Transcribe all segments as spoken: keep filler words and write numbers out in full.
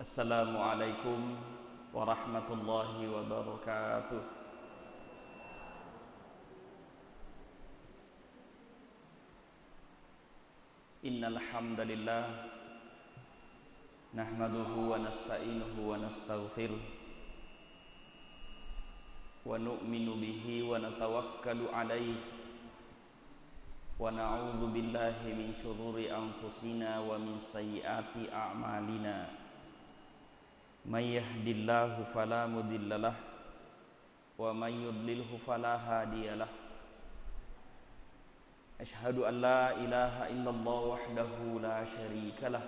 Assalamualaikum warahmatullahi wabarakatuh. Innal hamdalillah, nahmaduhu wa nasta'inuhu wa nastaghfiruh, wa nu'minu bihi wa natawakkalu alaihi, wa na'udzu billahi min syururi anfusina wa min sayyiati a'malina. May yahdillahu fala mudhillalah, wa may yudlilhu fala hadiyalah. Asyhadu an la ilaha illallah wahdahu la syarikalah,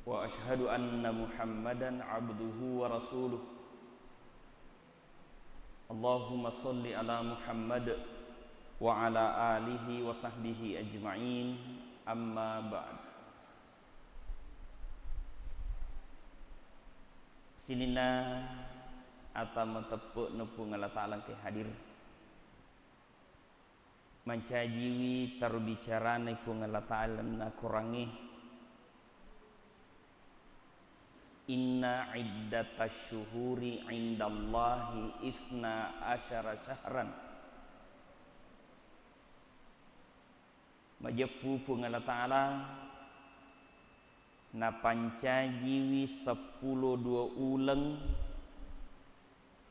wa asyhadu anna Muhammadan abduhu wa rasuluh. Allahumma shalli ala Muhammad wa ala alihi wa sahbihi ajma'in. Amma ba'd. Sininna ata mateppe'na Puang Allah Ta'ala engkae hadir. Mancajiwi taro bicarana Puang Allah Ta'ala na Korangnge. Inna iddatasy syuhuri indallahi itsna asyara syahran. Majeppu Puang Allah Ta'ala napancajiwi seppulo dua uleng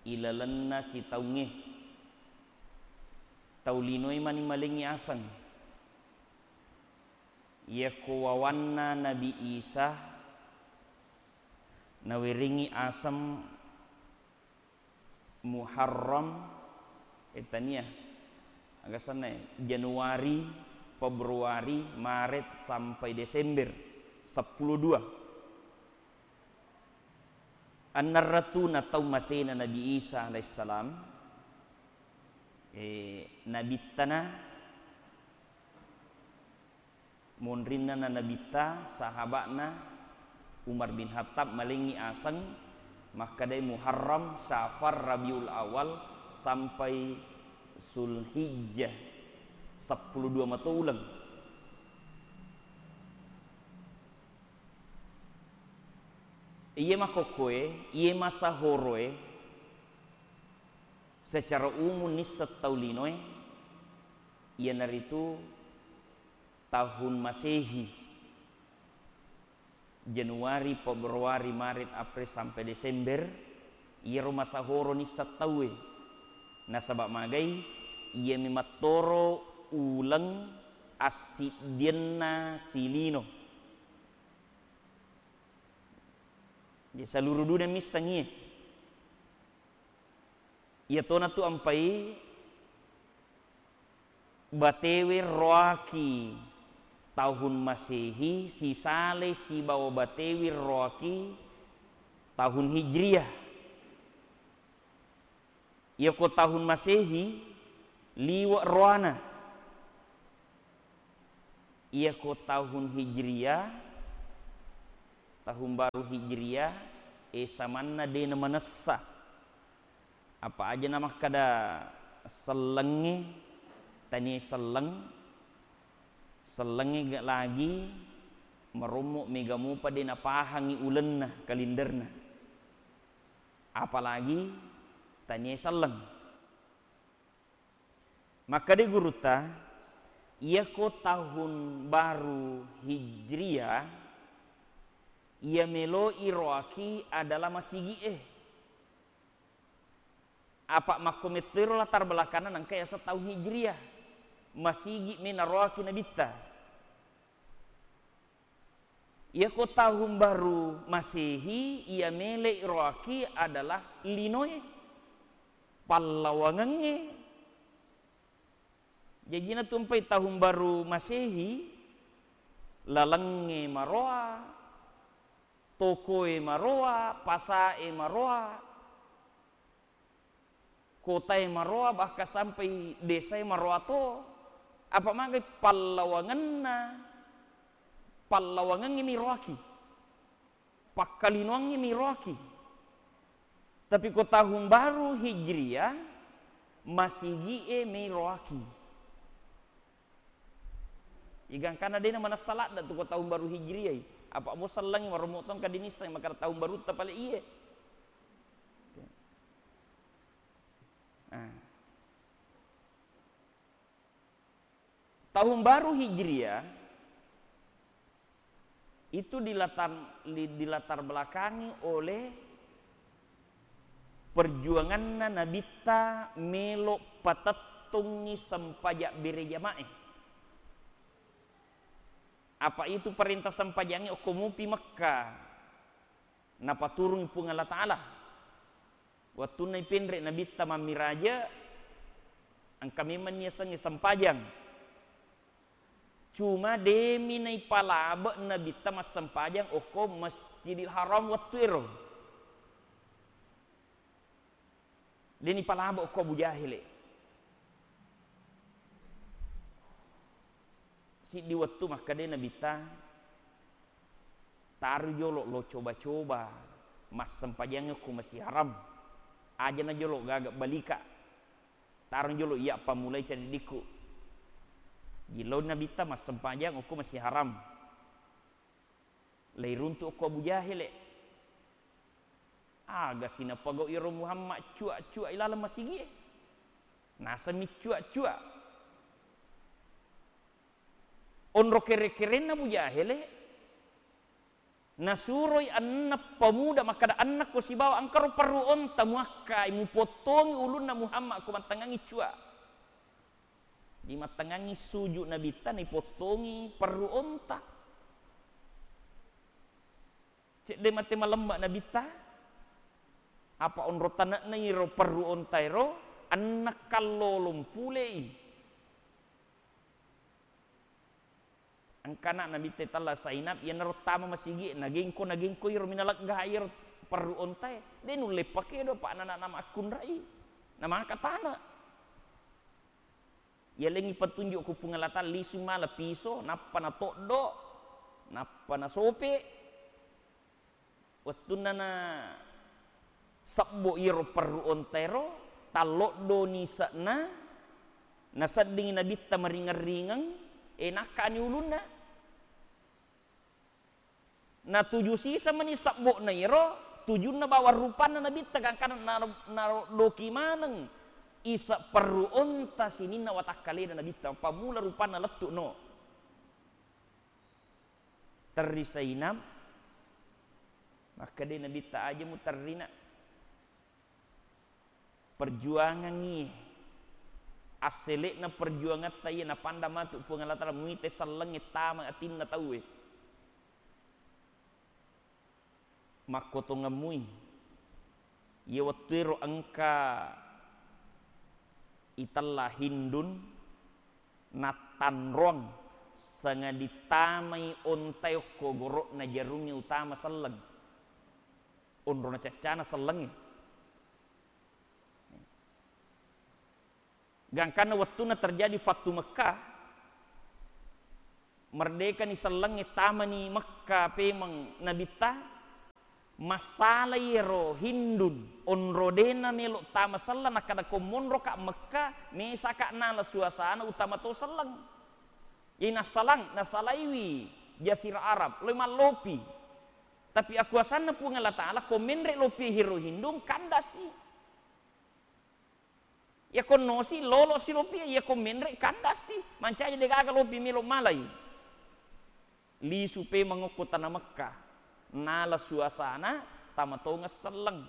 ilalenna sitaungnge. Tau linoe mani malengngi aseng. Iyako wawanna Nabi Isa nawerengngi aseng Muharram, eh, tania, aga senna, Januari, Februari, Maret, sampai Desember, seppulo dua. Enneng ratuna taung matena Nabi Isa alaihissalam, eh, nabittana Monrinna na Nabitta, sahaba'na Umar bin Khattab malengngi aseng, makkedai Muharram, Safar, Rabiul Awal, sampai Zulhijjah, seppulo dua mato uleng. Iye makkokkoe, iye masahoroe, secara umum nisseng tau linoe, iyanaritu tahun Masehi, Januari, Februari, Maret, April, sampai Desember, iyaro masahoro nisseng tauwe. Nasaba magai, iyami mattoro uleng assiddienna silino. Jadi, seluruh dunia misseng iye. Iyatona tu ampai batewe roaki tahun Masehi, sisale sibawa batewe roaki tahun Hijriah. Iyako tahun Masehi, liwe' roana. Iyako tahun Hijriah, tahun baru Hijriah, e, samanna de' namanessa. Apa aja namakkeda sellengnge, tania selleng, sellengnge ga-, lagi marommo mega mupa de' napahangngi ulenna, kalenderna. Apalagi tania selleng. Makkeda gurutta, iyako tahun baru Hijriah, iya meloi roaki adalah masigi'e. Apa makko mettoiro latar belakangna nengka yaseng tahun Hijriah, masigi' mi naroaki nabitta. Iyako tahun baru Masehi, iya mele' roaki adalah linoe, pallawangengnge. Jajina tu ampai tahun baru Masehi, lalengnge maroa, tokoe maroa, pasae maroa, kotae maroa, bahkan sampai desae maroa to. Apa magai pallawangenna, pallawangengnge mi roaki, pakkalinoangnge mi roaki. Tapi ko tahun baru Hijriah, masigi'e mi roaki. Igangkana dena manessa ladda tu ko tahun baru Hijriah i. Apa mo sellengi warommo tong kadinisseng makkada tahun barutta pale iye. Oke. Nah. Tahun baru Hijriah itu dilatar, di, dilatar belakangi oleh perjuanganna Nabitta melo patettungngi sempajang bere jamae. Apa itu perintah sempajangnge okko mupi Mekka napaturungi Puang Allah Ta'ala. Wettunna ipenre Nabitta mammiraja, engka memang niasengnge sempajang. Cuma demi naipalabe Nabitta massempajang okko Masjidil Haram wettu ero. Deni palabo ko Abu Jahele. Siddi wettu makkeda Nabitta, "Taru jolo lo coba-coba massempajang ko Masjid Haram. Aja na jolo gaga balika. Taru jolo iya pammulai cadiddikku." Jillau Nabitta massempajang ko Masjid Haram. Leiruntu ko Abu Jahele. Aga sinapagau iyaro Muhammad cua-cua ilaleng masigie. Nasemmi cua-cua. Onro kere-kerenna Abu Jahele, nasuroi enneng pemuda makkeda, "Enneng ko sibawa engkaro perru onta muakkai, mupottongi ulunna Muhammad ko mattengngangi cua." Di mattengngangi suju Nabitta, naipottongi perru onta. Cedde mate malemma Nabitta, apa onro tane'na iro perru onta ero, enneng kallolong pulei. Engkana Nabitta itella Zainab, iyanaro tama masigi, nagengko, nagengko iro minalegga iro perru ontae, de nulle pakedo, pa nana makkunrai, namaka tana. Yalengngi petunjuk ku Puang Allah Ta'ala, lisu mala piso, nappa natoddo, nappa nasope. Wettunna na sebbo iyaro perru ontaero, talloddoni ise'na, naseddingi Nabitta maringeng-ringeng, e, nakkani ulunna. Natuju sisa mani sebbo'na iyaro, tujunna bawang rupanna Nabitta, gangkana na, naroddoki maneng ise perru onta sininna watakkalena Nabitta, pammula rupanna lettu no. Terri Zainab, makkeda Nabitta, "Aja muterrina. Perjuangangngi, assele'na perjuangatta iya napanda matu Puang Allah Ta'ala, muita sellengnge tama atinna tauwe." Makkotongammui. Iya wettuero engka itella Hindun nattanrong, sangadi tamai ontae okko goro'na jarungnge utama selleng. Onrona caccana sellengnge. Gangkanna wettunna terjadi Fathu Mekkah, merdekani sellengnge, tamani Mekkah pemeng Nabitta, massalai ero Hindun, onro dena melo tama selleng, nakkada, "Ko monroka Mekkah, mesaka nala suasana utama to selleng." Jadi nassalang, nassalaiwi Jazirah Arab, loi mallopi. Tapi akuasanna Puang Allah Ta'ala, ko menre lopi hiro Hindun, kandasi. Iyako nosi, lolo si lopi, iyako menre, kandasi. Mancaji degaga lopi melo malai. Lisu pemeng okko tana Mekkah. Nala suasana tama tongeng selleng.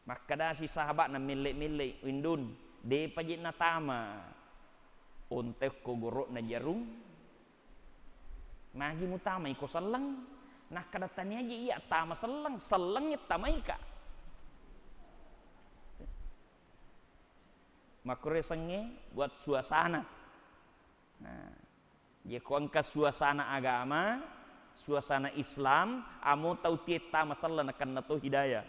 Makkedasi sahaba'na melle-melle, "Hindun, depa je natama onta okko goro'na jarung. Magi mutamai ko selleng?" Nakkeda, "Tania je iya tama selleng, sellengnge tamaika." Makkuresengnge buat suasana. Nah, je ko engka suasana agama, suasana Islam, amo tau tie tama selleng nakenna to hidayah.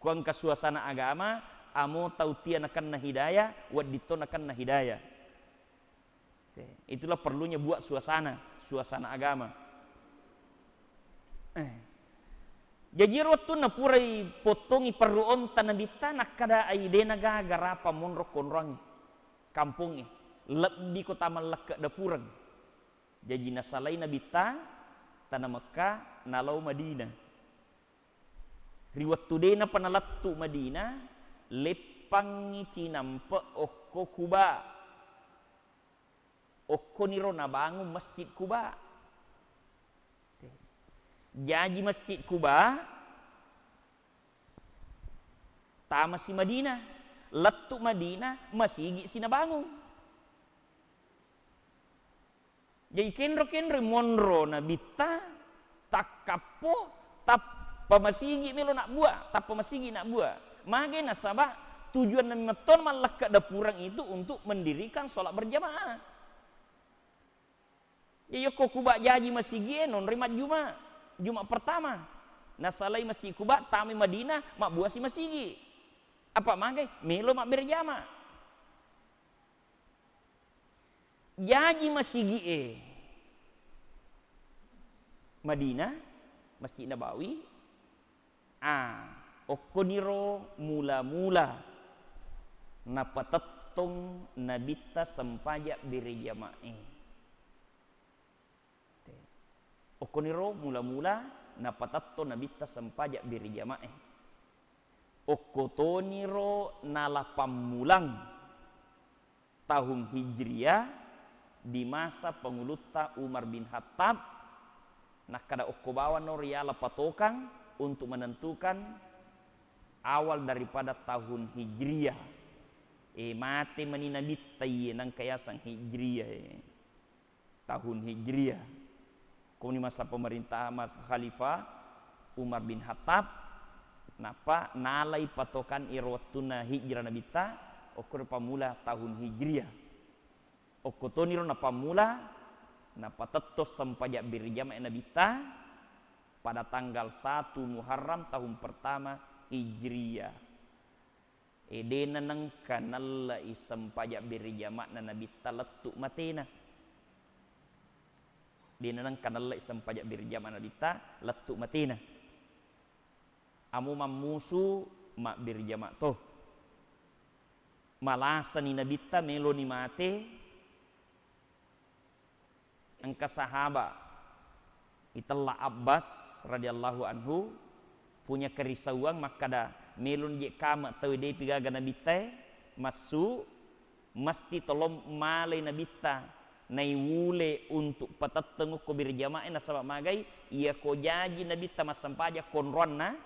Ko engka suasana agama, amo tau tie nakenna hidayah, wedding to nakenna hidayah. Oke, itulah perlunya buat suasana, suasana agama. Eh. Jaji ro wettunna purai pottongi perru onta Nabitta, nakkeda ai, "De nagaga rapa monro konroangnge, kampongnge, lebbi ko tamallakke dapureng." Jaji nasalai Nabitta tana Mekka, nalao Madinah. Ri wettu de napa nalettu Madinah, leppangngi cinampe okko Kuba. Okkoniro nabangung Masjid Kuba. Jaji Masjid Kuba tamasi Madinah, lettu Madinah, masigi si nabangung. Jadi kenro-kenro monro Nabitta, takkappo, tappa masigi melo nabbua, tappa masigi nabbua. Mage nasaba tujuanna metto mallekka dapurang itu untuk mendirikan sholat berjamaah. Jadi okko Kuba jaji masigie nonroi majjuma, Juma pertama. Nasalai Masjid Kuba, tamai Madinah, mabbuasi masigi. Apa magai? Melo mabbere jama. Jaji masigie Madinah, Masjid Nabawi, a, okkoniro mula-mula napatettong Nabitta sempajang bere jamae. Te. Okkoniro mula-mula napatettong Nabitta sempajang bere jamae. Okkotoniro nala pammulang tahun Hijriah di masa pengulutta Umar bin Khattab, nakkada okko bawang no riala patokang untuk menentukan awal daripada tahun Hijriah. E, mate mani Nabitta iye nangka yaseng Hijriah e. Tahun Hijriah. Koni masa pemerintah mas-, Khalifah Umar bin Khattab, nappa nalai patokan iro wettunna hijrah Nabitta, okkoro pammula tahun Hijriah. Okkotoniro napammula, napatetto sempajang bere jamae Nabitta pada tanggal satu Muharram tahun pertama Hijriah. E, de nanengka nallai sempajang bere jama'na Nabitta lettu matena. De nanengka nallai sempajang bere jama Nabitta lettu matena. Amo mammusu mabbere jama to. Malasani Nabitta meloni mate, engka sahaba itella Abbas radhiyallahu anhu punya kerisauan makkada, melon je kame tau depi gaga Nabitta e massu, mesti tolong malai Nabitta naiwule untuk patetteng okko bere jamae, nasaba magai iya ko jaji Nabitta massempajang konroanna,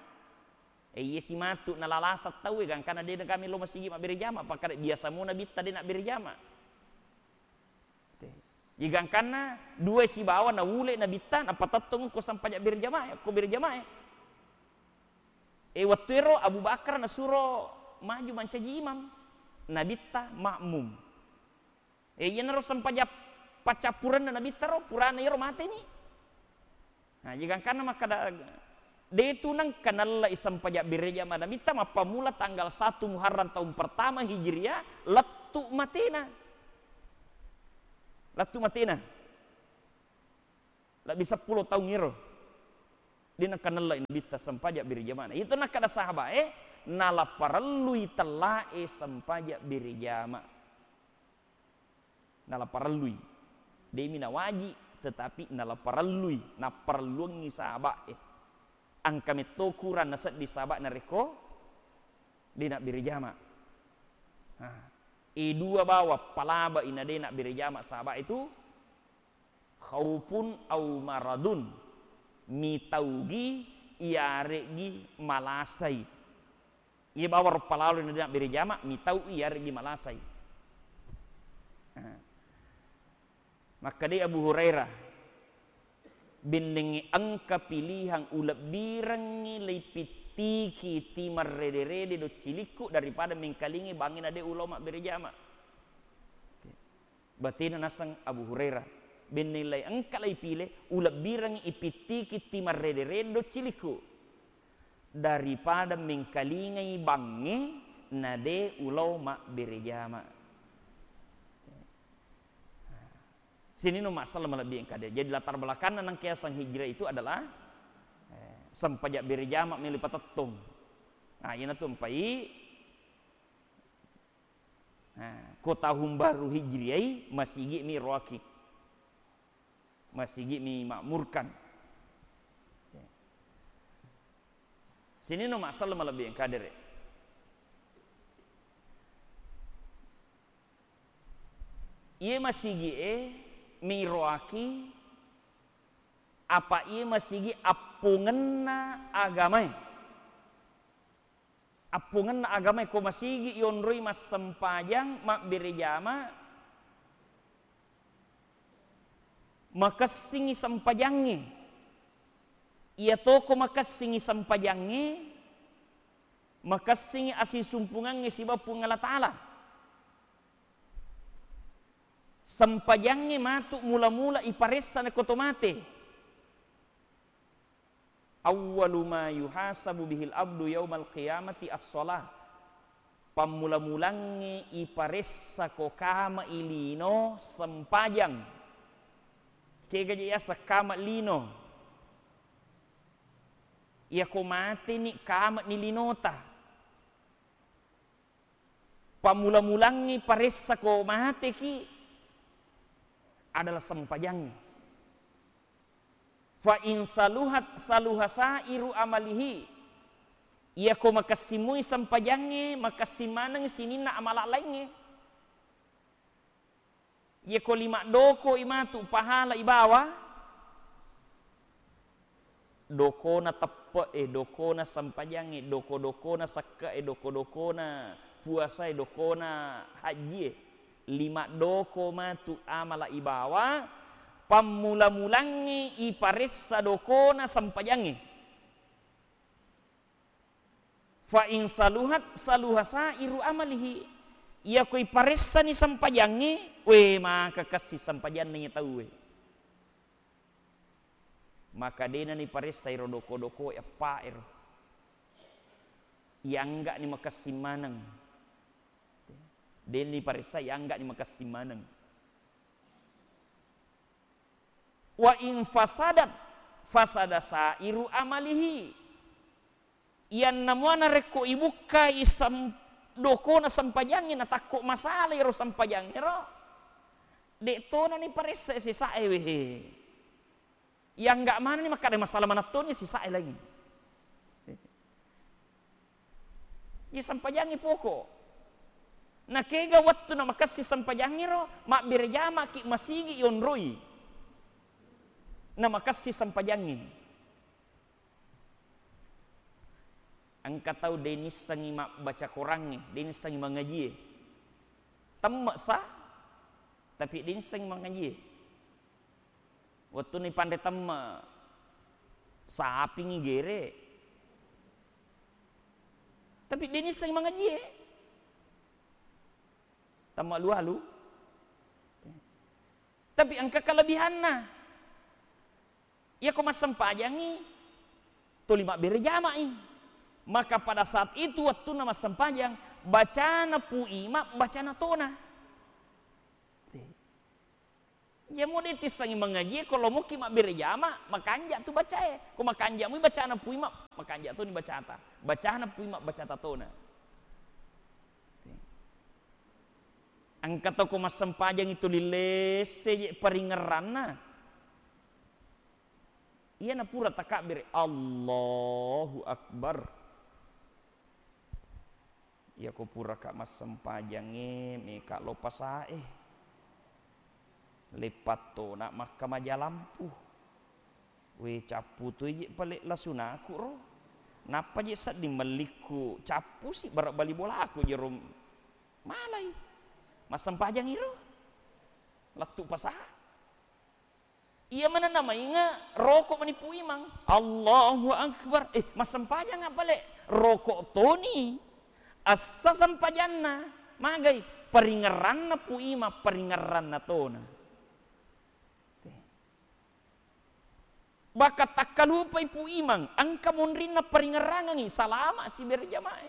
e, iya si matu nalalasang tau e, gangkana de kami lo masigi mabbere jama, pakkada biasa mo Nabitta de nabbere jama. Te. Iya gangkanna dua sibawa naule Nabitta napatettong ko sempajang bere jamae, ko bere jamae. E, wettu ero Abu Bakar nasuro maju mancaji imam, Nabitta makmum. E, iyanaro sempajang paccappurenna Nabitta ro, purana iyaro mateni. Nah, jadi gangkanna makkada, de tu nengka nallai sempajang bere jama Nabitta mappammula tanggal satu Muharram tahun pertama Hijriah, lettu matena. Lettu matena. Lebbi seppulo taung iro. De nengka nallai Nabitta sempajang bere jamana. Itu nakkada sahabae, nala parellui tellae sempajang bere jama. Nala parellui. Demi nawaji, tetapi nala parellui, napparelluangngi sahabae. Engka metto kurang nasedding sahabat narekko de nabbere jama. Nah, e dua bawang palabai na de nabbere jama sahabat itu, khaufun au maradun, mitaugi iyare'gi malasai. Iya bawang ro palalo na de nabbere jama, mitau'i iyare'gi malasai. Nah. Makkedai Abu Hurairah, bennengngi engka pilihang ulebbirengngi leipittiki timarrede-rede doccilikku daripada mengkalingai bangnge na de ulao mabbere jama. Batena naseng Abu Hurairah, benneng lai engka lai pile, ulebbirengngi ipittiki timarrede-rede doccilikku daripada mengkalingai bangnge na de ulao mabbere jama. Sininna masalah malebbi engka de. Jadi latar belakanna nangka yaseng hijrah itu adalah, eh, sempajang bere jama melo patettong. Nah, iyanatu empai Nah, ko tahun baru Hijriah i, masigi mi roaki. Masigi mi makmurkan. Sininna masalah malebbi engka dere. Iye masigi e miroaki apa iye masigi appungenna agamae. Appungenna agamae ko masigi yonroi massempajang, mabbere jama, makessingi sempajangnge. Iyatoko makessingi sempajangnge, makessingi asisumpungangnge sibawa Puang Allah Ta'ala. Sempajangnge matu mula-mula iparessa nako to mate. Awwalu ma yuhasabu bihil abdu yaumal qiyamati as-shalah. Pammula-mulangnge iparessa ko kama i lino sempajang. Kega je yaseng kama lino? Iyako mateni kama ni linota. Pammula-mulangngi paressa ko mateki adalah sempajangnge. Fa in saluhat saluha sairu amalihi. Iyako makessimui sempajangnge, makessing maneng sininna amala laingnge. Iyako lima doko i matu pahala ibawa, dokona teppe e, dokona sempajangnge, doko-dokona sekke e, doko-dokona puasa e, dokona haji e. Lima doko matu amala ibawa, pammula-mulangnge iparessa dokona sempajangnge. Fa in saluhat saluha sairu amalihi. Iyako iparessani sempajangnge, we, maka kessi sempajanna iya tauwe. Maka dena niparessa iro doko-doko eppa ero. Iyanggani makessing maneng. Dena niparessa iyanggani makessing maneng. Wa in fasadat fasada sairu amalihi. Iyanna muana rekko ibukkai sem-, dokona sempajangnge natakko masalah ero sempajangnge ro, de' tona niparessa sisae wehe. Iyangga manenni makkada masalah maneng toni sisae laingnge. Iya sempajangnge poko. Nakega wettu namakessing sempajangnge ro, mabbere jamaki masigi yonroi. Namakessing sempajangnge. Engka tau de' nissengngi mabbaca korangnge, de' nissengngi mangajie. Temme sa, tapi de' nissengngi mangajie. Wettunni panre temme, sapingngi gere. Tapi de' nissengngi mangajie. Temme alu-alu. Tapi engka kelebihanna. Iyako massempajangngi, tuli mabbere jama'i. Maka pada saat itu, wettunna massempajang, bacana Pu Imam, bacana tona. Iya mo de' tissengngi mangajie, ko lomoki mabbere jama, makanja tu bacae. Ko makanja mui bacana Pu Imam, makanja toni bacata. Bacana Pu Imam, bacata tona. Engka toko massempajangngi tuli lesse je paringerranna. Iyana pura takabbere, Allahu Akbar. Iyako puraka massempajangnge, meka lo pasae. Leppattona makkamaja lampu. We, cappu toi je pale lasunaku ro. Nappa je sedding mellikku cappusi, bara bali bolaku jero malai. Massempajangngi ro. Lettu pasa. Iya manenna mainge roko mani Pu Imang. Allahu Akbar. Eh, massempajang apa le? Roko toni. Assa sempajanna. Magai? Paringerranna Pu Imang, paringerranna tona. Te. Baka takkalupai Pu Imang, engka monrinna paringerrangengi, salama si berjamae.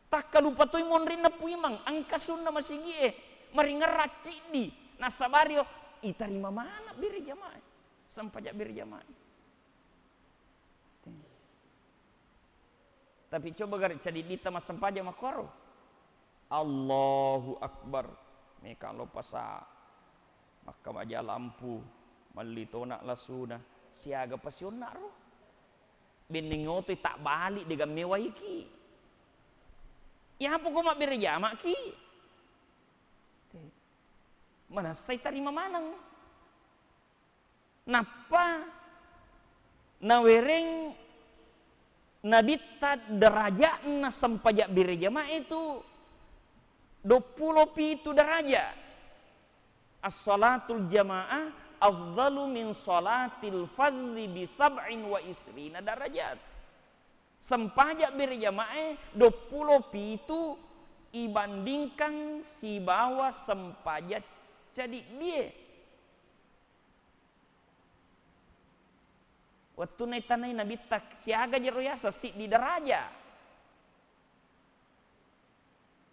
Takkalupa toi monrinna Pu Imang, engka sunna masigie, maringerrang ciddi, nasabario, itarima maneng berjamae, sempaja berjamae. Tapi coba gare cadiddita massempajang makkoro. Allahu Akbar. Meka lo pasa. Makkamaja lampu. Melli tona lasuna, siaga pasionna ro. Benneng otoi tabbali de gamme waiki. Iyapa ko mabbere jamaki. Te. Manessai tarima maneng. Nappa nawereng Nabitta derajatna sempajang bere jamaah itu duappulo pitu derajat. As-salatul jamaah afdalu min salatil fardhi bi sab'in wa isrina darajat. Sempajang bere jamaah duappulo pitu ibandingkan sibawa sempajang cadiddie. Wettunna itanai Nabitta siaga jero yaseng siddi daraja.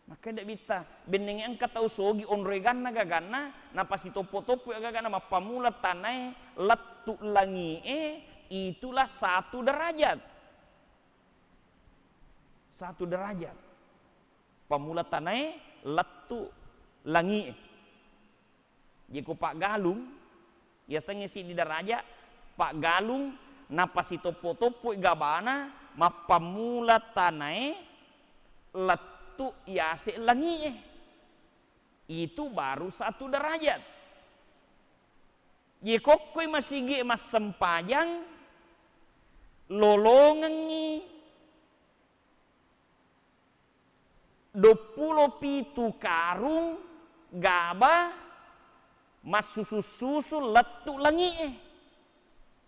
Makkeda Nabitta, bennengnge engka tau sogi onroi ganna gaganna, napasitoppo-toppo gagana mappammula tanae lettu langie, itulah satu derajat. Satu derajat. Pammula tanae lettu langie. Jeko paggalung, yasengnge siddi daraja, paggalung napasitoppo-toppoi gabana mappammula tanae lettu yase langie. Itu baru satu derajat. Jekokkoi masigi massempajang lolongengngi duappulo pitu karung gaba massusu-susu lettu langie.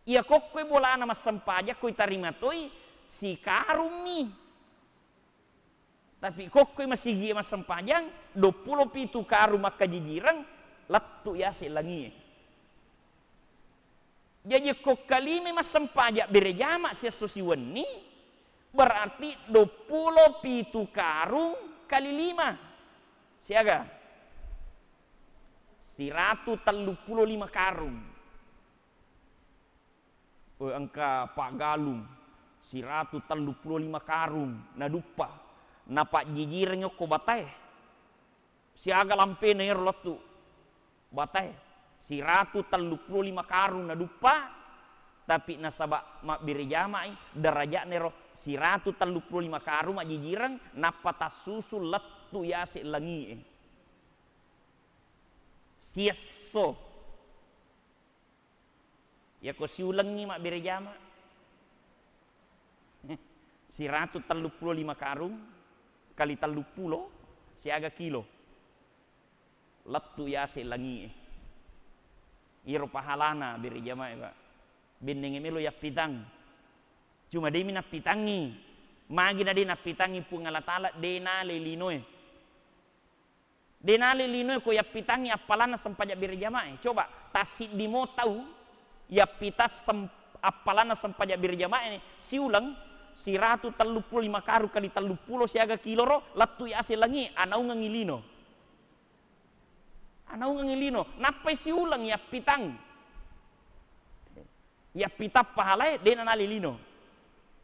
Iya kokkoi bolana massempajang koi tarima toi sikarummi. Tapi kokkoi masigi massempajang duappulo pitu karung makkajijireng lettu yase langie. Jaji ko kalime massempajang bere jama siesso siwenni, berarti duappulo pitu karung kali lima. Siaga? Siratu telluppulo lima karung. Oh, engka paggalung siratu telluppulo lima karung naduppa. Napajjijireng okko batae. Siaga lampena ero lettu batae, siratu telluppulo lima karung naduppa, tapi nasaba mabbere jamai, derajatna ero siratu telluppulo lima karung majjijireng, nappa tassusu lettu yase langie. Siesso. Yako siulengngi mabbere jama, siratu telluppulo lima karung kali telluppulo siaga kilo lettu yase langie. Iyaro pahalana bere jamae, Pak. Bennenge melo yappitang. Cuma demi nappitangngi. Magi na de nappitangngi Puang Allah Taala, de nale linoe. De nale linoe ko yappitangngi appalanna sempajang bere jamae. Coba, tassiddi mo tau yappitang sem-, appalanna sempajang bere jamae siuleng siratu telluppulo lima karung kali telluppulo siaga kilo ro lettu yase langie, anaungengngi lino. Anaungengngi lino. Nappai siuleng yappitang. Yappitang pahalae, de nanale lino.